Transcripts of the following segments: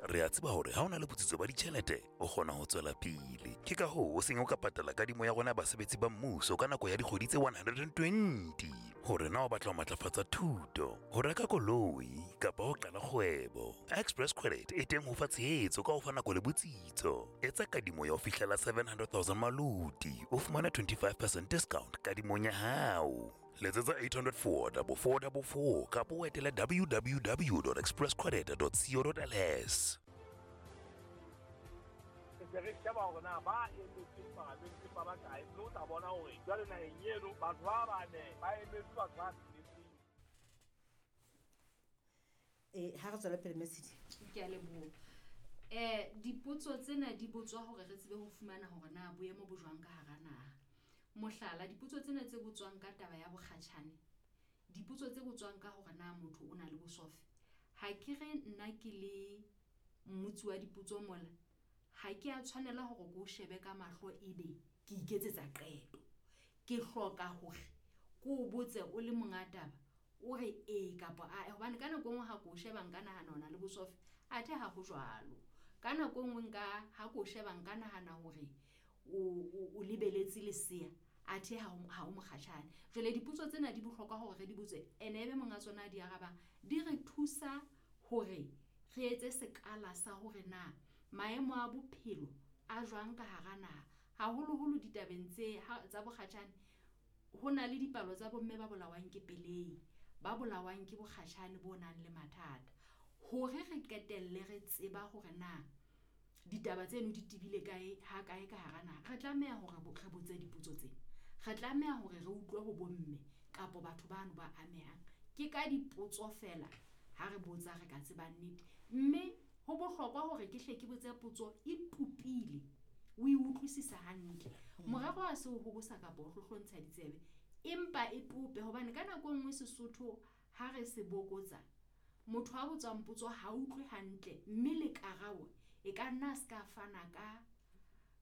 Re a tseba hore ha o na le botsitso ba ditjhelete, o kgona ho tswela pele. Ke ka hoo o seng o ka patala kadimo ya rona ya basebetsi ba mmuso ka nako ya dikgwedi tse 120. Hore na o batla ho matlafatsa thuto, ho reka koloi kapa ho qala kgwebo. Express Credit e teng ho fa tshehetso ka ho fa nako le botsitso. Etsa kadimo ya ho fihlela 700 000 maluti, o fumane 25% discount kadimong ya hao. Letsetsa 804 4444 kapa o etele www.expresscredit.co.ls. Re se re sheba hore na ba emetseng palamente ba bakae, mme o tla bona hore jwale naheng eno batho ba bane ba emetse batho ba tsheletseng. Ha re tswela pele, Mesedi. Ke a leboha. Dipotso tsena di botswa hore re tsebe ho fumana hore na boemo bo jwang ka hara naha. Mohlala, dipotso tsena tse botswang ka taba ya bokgatjhane, dipotso tse botswang ka hore na motho o na le bosofe. Ha ke re nna ke le mmotsi wa dipotso mola, ha ke a tshwanela hore ke o shebe ka mahlo ebe ke iketsetsa qeto. Ke hloka hore ke o botse o le monga taba, o re ee kapa ae, hobane ka nako e nngwe ha ke o sheba nka nahana o na le bosofe, athe ha ho jwalo. Ka nako e nngwe nka ha ke o sheba nka nahana hore o lebeletse lesea, athe ha o mokgatjhane. Jwale dipotso tsena di bohlokwa hore re di botse, ene ebe monga tsona a di arabang, di re thusa hore re etse sekala sa hore na maemo a bophelo a jwang ka hara naha, haholoholo ditabeng tse tsa bokgatjhane. Ho na le dipalo tsa bomme ba bolawang ke pelehi, ba bolawang ke bokgatjhane bo nang le mathata. Hore re qetelle re tseba hore na ditaba tseno di tebile kae, ha kae ka hara naha, re tlameha hore re botse dipotso tsena. Re tlameha hore re utlwe ho bomme kapa batho bano ba amehang. Ke ka dipotso fela ha re botsa re ka tseba nnete. Mme ho bohlokwa hore ke hle ke botse potso e tupile, o e utlwisisa hantle. Morero ha se ho hobosa kapa ho hlohlontsha ditsebe, empa e tope, hobane ka nako e nngwe Sesotho ha re se bokotsa, motho a botswang potso ha utlwe hantle, mme le karabo e ka nna a se ka fana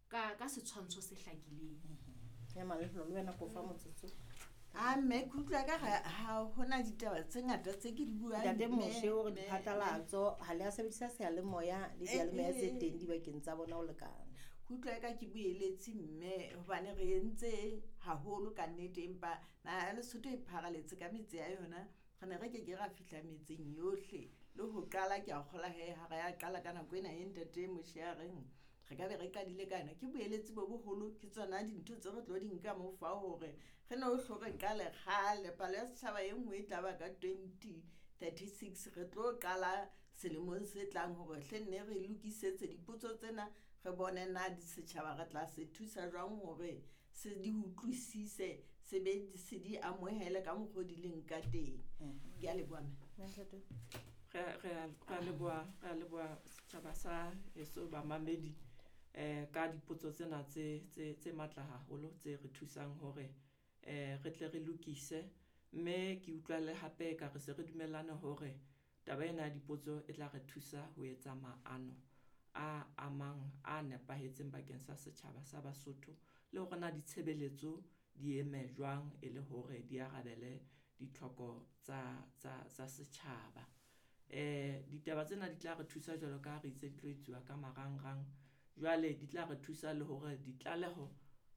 ka setshwantsho se hlakileng. Ya Malehlo, le wena ko fa motsotso. A mme ke utlwa ka ha hona ditaba tse ngata tse ke di buang. Ntate Moshe o re diphatlalatso ha le a sebedisa seyalemoya le diyalemoya tse teng dibakeng tsa bona ho lekana. Ke utlwa ka ke bueletse mme hobane re entse haholo ka nnete, empa naha ya Lesotho e pharaletse ka metse ya yona, re ne re ke ke ra fihla metseng yohle. Le ho qala ke a kgolwa he ha re ya qala ka nako ena e ntate Moshe a reng re ka be re qadile ka yona. Ke boeletsi bo boholo, ke tsona dintho tse re tlo di nka mo fa hore re no hlo re qale kgale. Palo ya setjhaba e nngwe e tla ba ka 2036, re tlo qala selemong se tlang hore hle nne re lokisetse dipotso tsena, re bone na di setjhaba re tla se thusa jwang hore se di utlwisise, se be se di amohele ka mokgwa o di leng ka teng. Ke a leboha, mme. Ntate. Re a leboha setjhaba sa heso bamamedi, ka dipotso tsena tse matla haholo tse re thusang hore re tle re lokise. Mme ke utlwa le hape ka re se re dumellane hore taba ena ya dipotso e tla re thusa ho etsa maano a amang a nepahetseng bakeng sa setjhaba sa Basotho, le hore na ditshebeletso di eme jwang e le hore di arabele ditlhoko tsa setjhaba. Ditaba tsena di tla re thusa jwalo ka ha re itse di tlo etsuwa ka marangrang. Jwale di tla re thusa le hore ditlaleho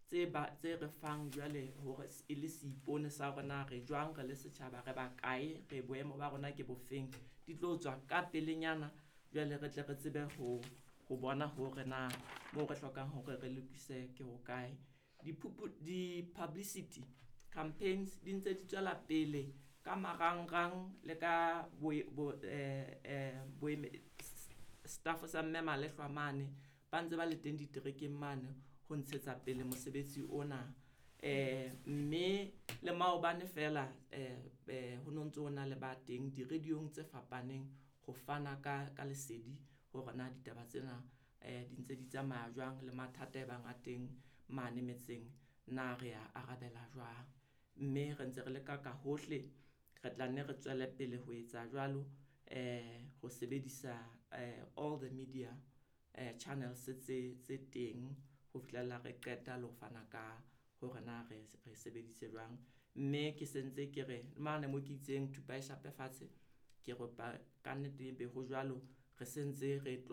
tse re fang jwale hore e le seipone sa hore na re jwang re le setjhaba, re ba kae, re boemo ba rona ke bofeng, di tlo tswa ka pelenyana. Jwale re tle re tsebe ho bona hore na moo re hlokang hore re lokise ke hokae. Di-publicity campaigns di ntse di tswela pele ka marangrang le ka staff sa mme Malehlwa mane, ba ntse ba le teng diterekeng mane ho ntshetsa pele mosebetsi ona. Mme le maobane fela, ho no ntso ho na le ba teng di-radio-ong tse fapaneng ho fana ka lesedi hore na ditaba tsena di ntse di tsamaya jwang, le mathata e bang a teng mane metseng na re a arabela jwang. Mme re ntse re leka ka hohle, re tla nne re tswele pele ho etsa jwalo, ho sebedisa all the media channels tse teng ho fihlella re qeta le ho fana ka hore na re sebeditse jwang. Mme ke sentse ke re mane mo ke itseng thupa e shape fatshe, ke ropa ka nnete be ho jwalo, re sentse re tlo